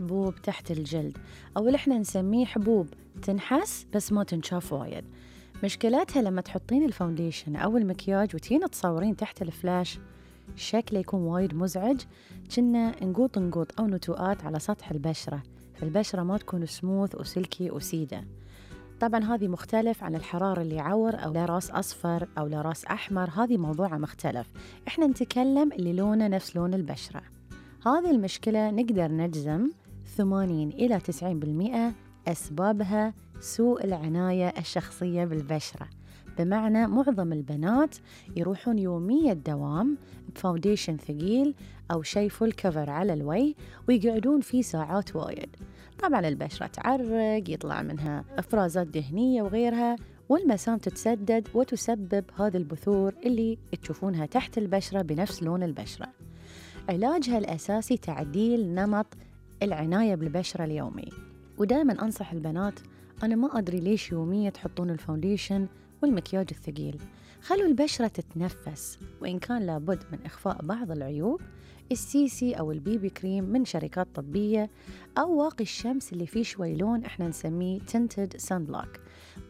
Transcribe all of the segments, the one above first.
حبوب تحت الجلد، أو اللي احنا نسميه حبوب تنحس بس ما تنشاف وايد. مشكلتها لما تحطين الفاونديشن أو المكياج وتين تصورين تحت الفلاش شكله يكون وايد مزعج، كنا نقوط أو نتوءات على سطح البشرة، فالبشرة ما تكون سموث وسلكي وسيدة. طبعاً هذه مختلف عن الحرارة اللي يعور أو لراس أصفر أو لراس أحمر، هذه موضوع مختلف. إحنا نتكلم اللي لونه نفس لون البشرة. هذه المشكلة نقدر نجزم 80 إلى 90% أسبابها سوء العناية الشخصية بالبشرة، بمعنى معظم البنات يروحون يومية دوام بفاونديشن ثقيل أو شيء فول كفر على الوجه ويقعدون فيه ساعات وايد. طبعاً البشرة تعرق، يطلع منها إفرازات دهنية وغيرها، والمسام تتسدد وتسبب هذه البثور اللي تشوفونها تحت البشرة بنفس لون البشرة. علاجها الأساسي تعديل نمط العناية بالبشرة اليومي. ودائما أنصح البنات، أنا ما أدري ليش يوميا تحطون الفاونديشن والمكياج الثقيل، خلوا البشرة تتنفس، وإن كان لابد من إخفاء بعض العيوب، السيسي أو البيبي كريم من شركات طبية، أو واقي الشمس اللي فيه شوي لون إحنا نسميه tinted sunblock.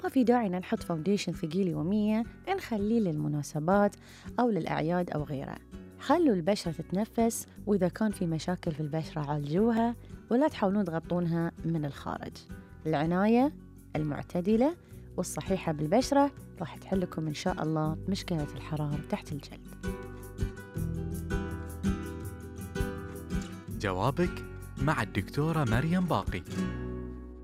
ما في داعي نحط فاونديشن ثقيل يوميا، نخليه للمناسبات أو للأعياد أو غيرها. خلوا البشرة تتنفس، وإذا كان في مشاكل في البشرة عالجوها، ولا تحاولون تغطونها من الخارج. العناية المعتدلة والصحيحة بالبشرة راح تحلكم إن شاء الله مشكلة الحرارة تحت الجلد. جوابك مع الدكتورة مريم باقي.